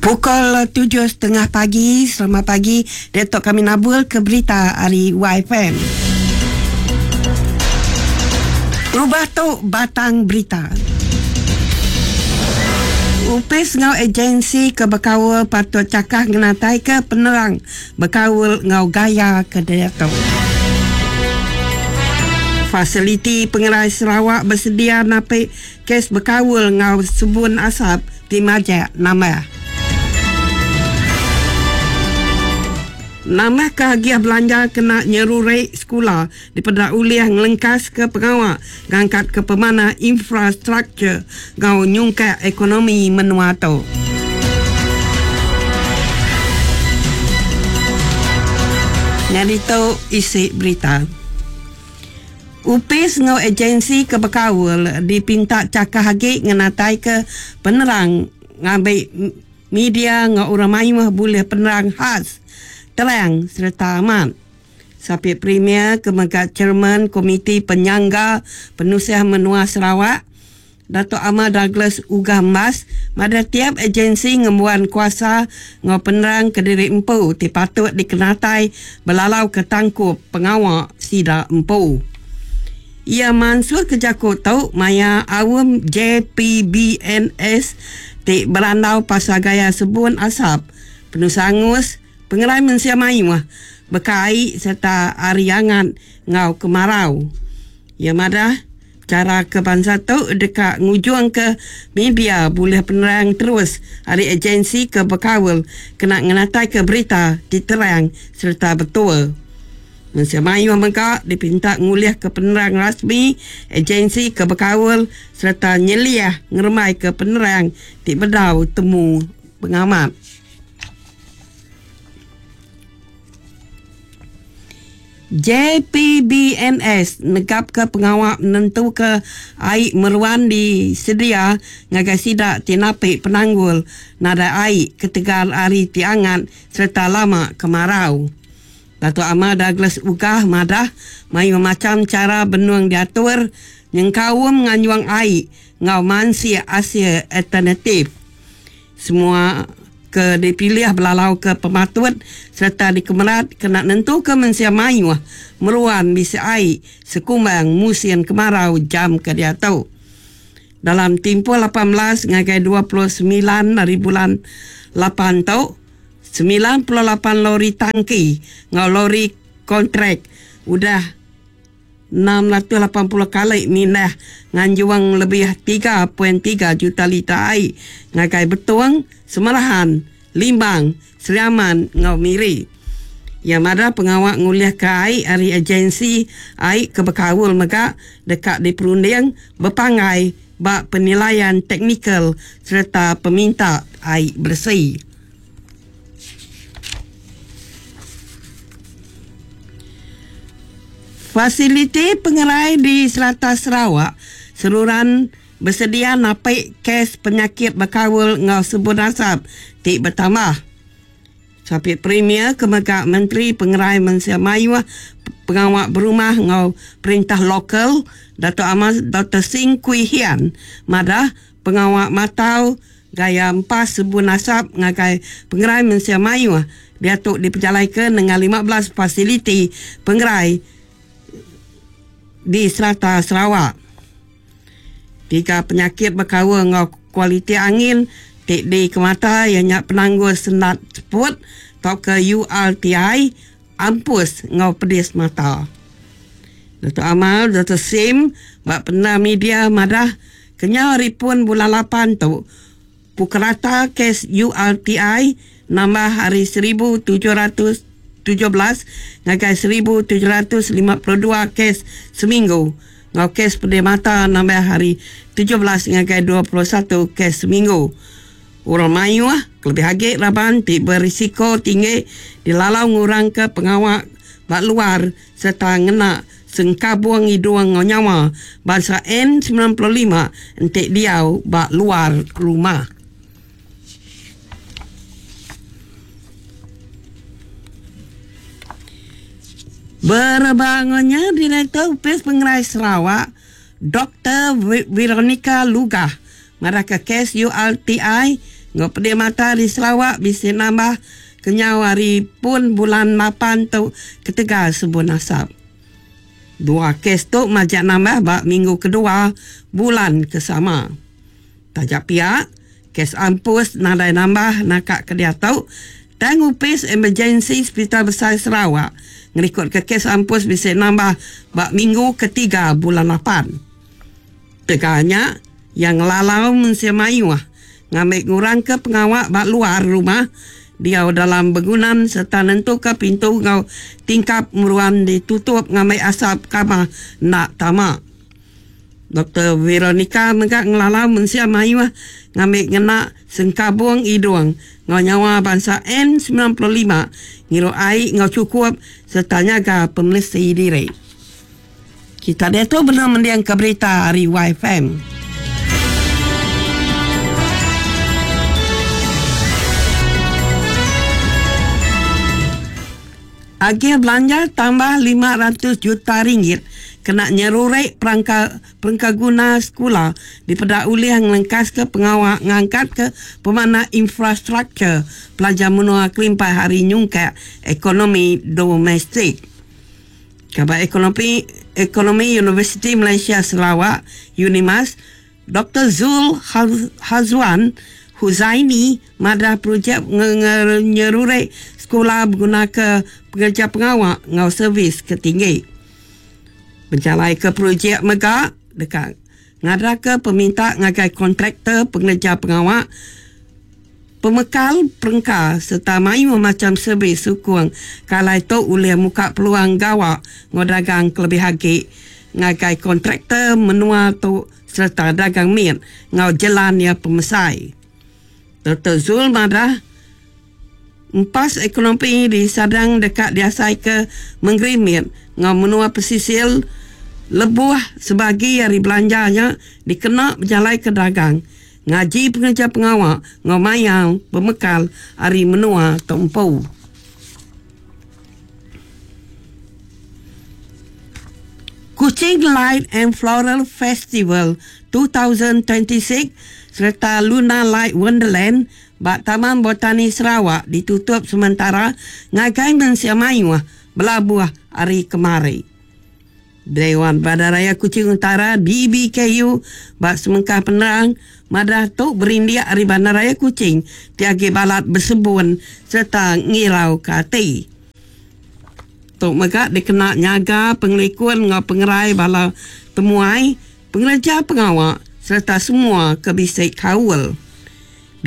Pukul 7.30 pagi, selamat pagi. Datuk kami nabul ke berita ari YFM. Rubah tu batang berita. Upis enggau agensi ke bekaul patut chakah ngenataika penerang bekaul enggau gaya ke diatu. Fasiliti Pengerai Sarawak besedia napi kes bekaul enggau sebun asap ti majak nambah. Nambahka agih belanja kena nyeruri sekula dipeda ulih ngelengkaska pengawa ngangkatka pemanah infrastruktur enggau nyungkak ekonomi menua tu. Nyadi tu isi berita. Opis enggau agensi ke bekaul dipinta chakah agi ngenataika penerang ngambi media enggau orang mayuh bulih penerang khas, terang sereta amat. Sapit Premier ke mega Chairman Komiti Penyangga Penusah Menua Sarawak, Datuk Amar Douglas Uggah Embas madah tiap agensi ngembuan kuasa enggau penerang kediri empu ti patut dikenatai belalauka tangkup pengawa sida empu. Iya mansutka jaku tu maya aum JPBNS ti berandau pasal gaya sebun asap, penusah angus, pengerai mensia mayuh, beka ai sereta ari angat enggau kemarau. Iya madah, chara ke bansa tu deka ngujungka media bulih penerang terus ari agensi ke bekaul kena ngenataika berita ti terang sereta betul. Mensia mayuh mega dipinta ngulihka penerang rasmi agensi ke bekaul sereta nyeliah ngerembaika penerang ti bedau temu pengamat. JPBNS negapka pengawa nentuka ai meruan disedia ngagai sida ti napi penanggul nadai ai ketegal hari ti angat sereta lama kemarau. Datuk Amar Douglas Uggah madah mayuh macham chara benung diatur nyengkaum nganjung ai enggau mansik asil alternatif. Semua ke dipilih belalauka pematut sereta dikemerat kena nentuka mensia mayuh meruan bisi ai sekumbang musin kemarau jam ke diatu. Dalam timpuh 18 ngagai 29 ari bulan lapan tu, 98 lori tangki enggau lori kontrak udah 680 kali mindah nganjung lebih 3.3 juta liter ai ngagai Betong, Semerahan, Limbang, Sri Aman enggau Miri. Iya madah pengawa ngulihka ai ari agensi ai ke bekaul mega deka diperunding bepanggai ba penilaian teknikal sereta peminta ai beresi. Fasiliti pengerai di serata Sarawak seruran besedia napi kes penyakit bekaul enggau sebun asap ti betambah. Sapit Premier ke mega Menteri Pengerai Mensia Mayuh, Pengawa Berumah enggau Perintah Lokal, Datuk Amar Doktor Sim Kui Hian madah pengawa matau Gaya empas sebun asap ngagai pengerai mensia mayuh diatu dipejalaika nengah 15 fasiliti pengerai di serata Sarawak. Tiga penyakit bekaul enggau kualiti angin ti dikemata iya nya penanggul sendat seput tauka URTI, ampus enggau pedis mata. Datuk Amar Doktor Sim ba penerang media madah kenyau ari pun bulan lapan tu, pukerata kes URTI nambah ari 1717 ngagai 1752 kes seminggu enggau kes pedis mata nambah ari 17 ngagai 21 kes seminggu. Orang mayuh, kelebih agi raban ti berisiko tinggi dilalau ngurangka pengawa ba luar sereta ngena sengkabung idung enggau nyawa bansa N 95 enti diau ba luar rumah. Berebak enggau nya, Direktor Opis Pengerai Sarawak, Doktor Veronica Lugah madahka kes URTI enggau pedih mata di Sarawak bisi nambah kenyau ari pun bulan lapan tu ketegal sebun asap. Dua kes tu majak nambah ba minggu kedua bulan ke sama. Taja pia, kes ampus nadai nambah naka ke diatu, tang Opis Emergensi Sepital Besai Sarawak ngerikodka kes ampus bisi nambah ba minggu ketiga bulan lapan. Tegal nya, iya ngelalau mensia mayuh ngambi ngurangka pengawa ba luar rumah, diau dalam begunan sereta nentuka pintu enggau tingkap meruan ditutup ngambi asap kamah enda tama. Doktor Veronica mega ngelalau mensia mayuh ngambi ngena sengkabung idung enggau nyawa bansa N 95 ngirup ai enggau chukup sereta nyaga pemelesi diri. Kita diatu benung mendingka berita ari YFM. Agih belanja tambah 500 juta ringgit kena nyerurek perangka perengkaguna sekula dipeda ulih ngelengkaska pengawa ngangkatka pemanah infrastruktur pelajar menua kelimpah ari nyungkak ekonomi domestik. Kaban Ekonomi Ekonomi Universiti Malaysia Sarawak, Unimas, Doktor Zul Hazwan Huzaini madah projek nyerurek sekula begunaka pengereja pengawa enggau servis ke tinggi. Bejalaika projek mega deka ngadaka peminta ngagai kontraktor pengereja pengawa Pemekal perengka sereta mayuh macham servis sukung ke alai tu ulih muka peluang gawa enggau dagang kelebih agi ngagai kontraktor menua tu sereta dagang mit enggau jelan iya pemesai. Doktor Zul madah, empas ekonomi disadang deka diasaika mengeri mit enggau menua pesisir lebuh sebagi ari belanja nya dikena bejalaika dagang. Ngaji pengereja pengawa enggau mayau bemekal ari menua tu empu. Kuching Light and Floral Festival 2026 sereta Lunar Light Wonderland ba Taman Botani Sarawak ditutup sementara ngagai mensia mayuh belabuh ari kemari. Dewan Bandaraya Kuching Utara, DBKU, ba semengkah penerang madah tu berindik ari Bandaraya Kuching ti agi balat besebun sereta ngirauka ati. Tu mega dikena nyaga pengelikun enggau pengerai bala temuai, pengereja pengawa sereta semua ke bisi kaul.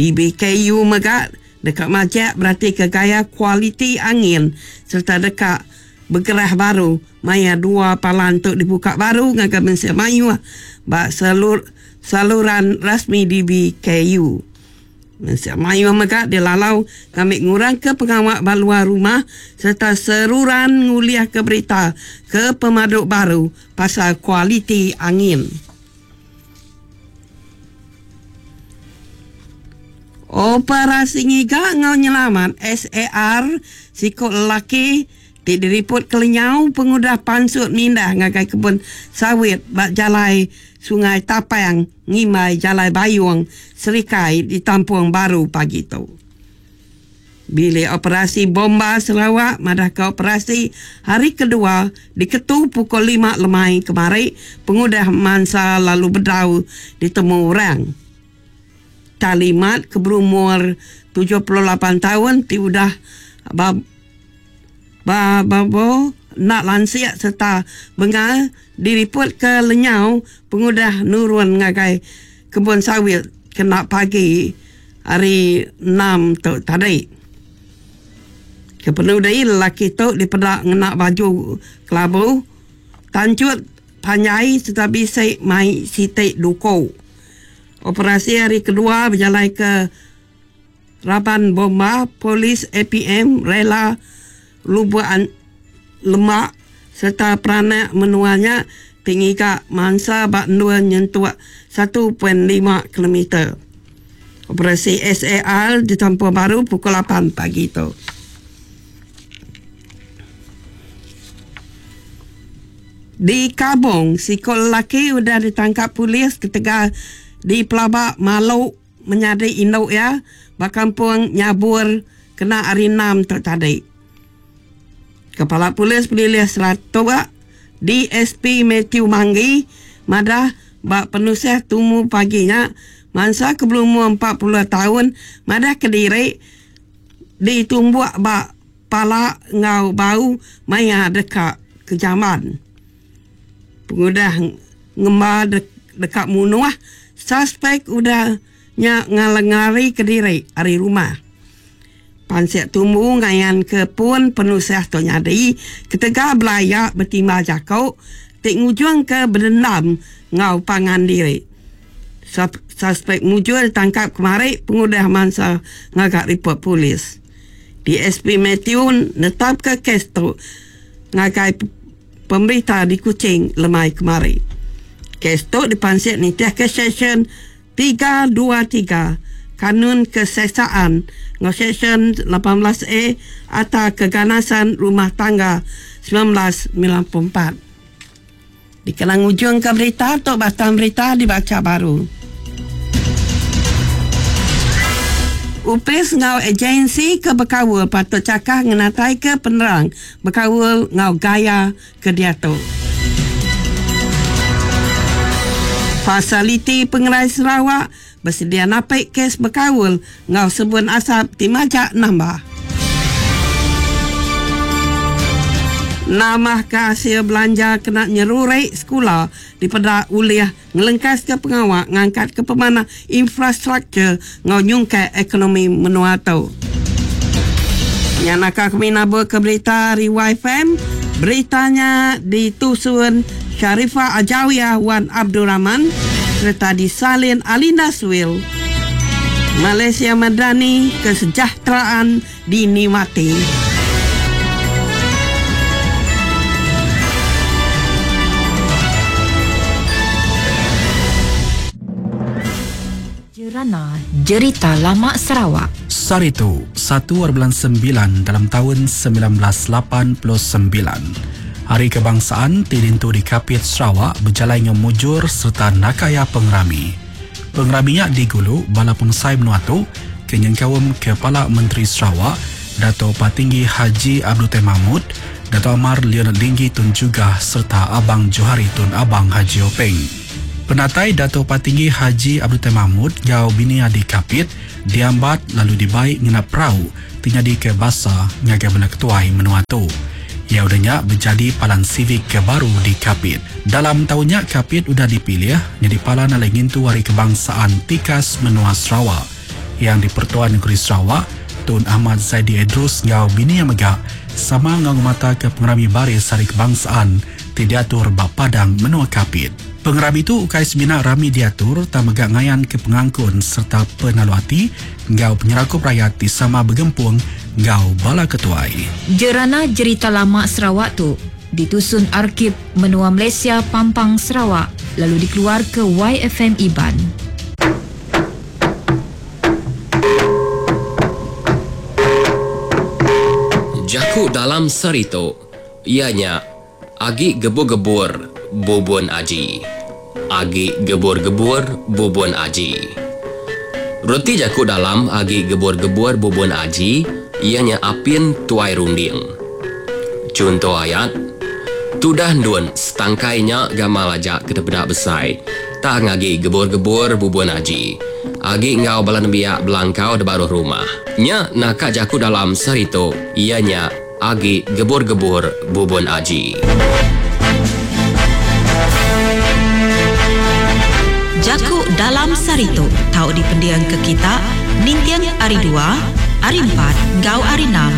DBKU mega deka majak beratika gaya kualiti angin sereta deka Begerah baru maya dua palan tu dibuka baru ngagai mensia mayuh ba saluran rasmi DBKU. Mensia mayuh mega dilalau ngambi ngurangka pengawa ba luar rumah sereta seruran ngulihka berita ke pemadu baru pasal kualiti angin. Operasi ngiga enggau nyelamat, SAR, siku lelaki ti diriput kelenyau pengudah pansut mindah ngagai kebun sawit ba Jalai Sungai Tapang ngimbai Jalai Bayung, Serikai ditampung baru pagi tu. Bilik Operasi Bomba Sarawak madahka operasi hari kedua diketu pukul lima lemai kemari pengudah mansa lalu bedau ditemu orang. Talimat ke berumur 78 taun ti udah ba ba babo enda lansik sereta bengal diripotka lenyau pengudah nurun ngagai kebun sawit kena pagi Hari Enam tu tadi. Kepenudi lelaki tu dipeda ngena baju kelabu, tanchut panjai sereta bisi mai siti duku. Operasi hari kedua bejalaika raban bomba, polis, APM, rela Lubuk Lembak sereta peranak menua nya ti ngiga mansa ba endur nyentuk 1.5 kilometer. Operasi SAR ditampung baru pukul lapan pagi tu. Di Kabong, siku lelaki udah ditangkap polis ketegal dipelaba malu. menyadi indu iya ba Kampung Nyabur kena Hari Enam tu tadi. Kepala Polis Pelilih Saratok, DSP Mathew Manggi madah ba penusah tumu pagi nya, mansa ke belumur 40 taun madah kediri ditumbuk ba pala enggau bau maya deka ke jamban. Pengudah ngemba deka munuh, suspek udah nya ngarika diri ari rumah. Pansik tumbu ngayanka pun penusah tu nyadi ketegal belaya betimbal jaku ti ngujungka bedendam enggau pangan diri. Suspek mujur ditangkap kemari pengudah mansa ngaga ripot polis. DSP Mathew netapka kes tu ngagai pemberita di Kuching lemai kemari. Kes tu dipansik nitihka Seksyen 323 Kanun Keseksaan enggau Seksyen 18 A Akta Keganasan Rumah Tangga 1994. Dikena ngujungka berita tu batang berita dibacha baru. Opis enggau agensi ke bekaul patut chakah ngenataika penerang bekaul enggau gaya ke diatu. Fasiliti Pengerai Sarawak besedia napi kes bekaul enggau sebun asap ti majak nambah. Nambahka asil belanja kena nyeruri sekula dipeda ulih ngelengkaska pengawa ngangkatka pemanah infrastruktur enggau nyungkak ekonomi menua tu. Nya naka kami naburka berita ari YFM. Berita nya ditusun Sharifah Ajawiyah Wan Abdul Rahman sereta disalin Alinda Suil. Malaysia Madani Kesejahteraan Dinikmati. Jerana Jerita Lama Sarawak. Sehari tu, satu ari bulan sembilan dalam taun 1989, Hari Kebangsaan ti dintu di Kapit, Sarawak bejalai enggau mujur sereta naka iya pengerami. Pengerami nya digulu bala pemesai menua tu ke nyengkaum Kepala Menteri Sarawak, Datuk Patinggi Haji Abdul Taib Mahmud, Datuk Amar Leonard Linggi Tun Jugah sereta Abang Johari Tun Abang Haji Openg. Penatai Datuk Patinggi Haji Abdul Taib Mahmud enggau bini iya di Kapit diambat lalu dibai ngena perau ti nyadika basa ngagai bala ketuai menua tu. Iya udah nya bejadi palan sivik ke baru di Kapit. Dalam taun nya Kapit udah dipilih nyadi palan alai ngintu Hari Kebangsaan tikas menua Sarawak. Yang di-Pertua Negeri Sarawak, Tun Ahmad Zaidi Edrus enggau bini iya mega sama enggau ngemataka pengerami baris Hari Kebangsaan ti diatur ba padang menua Kapit. Pengerami tu ukai semina rami diatur tang mega ngayanka pengangkun sereta penalu ati enggau penyerakup rayat ti sama begempung enggau bala ketuai. Jerana Jerita Lama Sarawak tu ditusun Arkib Menua Malaysia Pampang Sarawak lalu dikeluarka YFM Iban. Jaku dalam sehari tu iya nya agi gebur-gebur bubun aji. Agi gebur-gebur bubun aji. Reti jaku dalam agi gebur-gebur bubun aji iya nya apin tuai runding. Chunto ayat, Tudah endun setangkai nya gamal aja ke tepeda besai tang agi gebur-gebur bubun aji. Agi enggau bala nembiak belangkau da baruh rumah. Nya naka jaku dalam sehari tu iya nya agi gebur-gebur bubun aji. Jaku Dalam Saritu tau dipendingka kita ninting Hari Dua, Hari Empat enggau Hari Enam.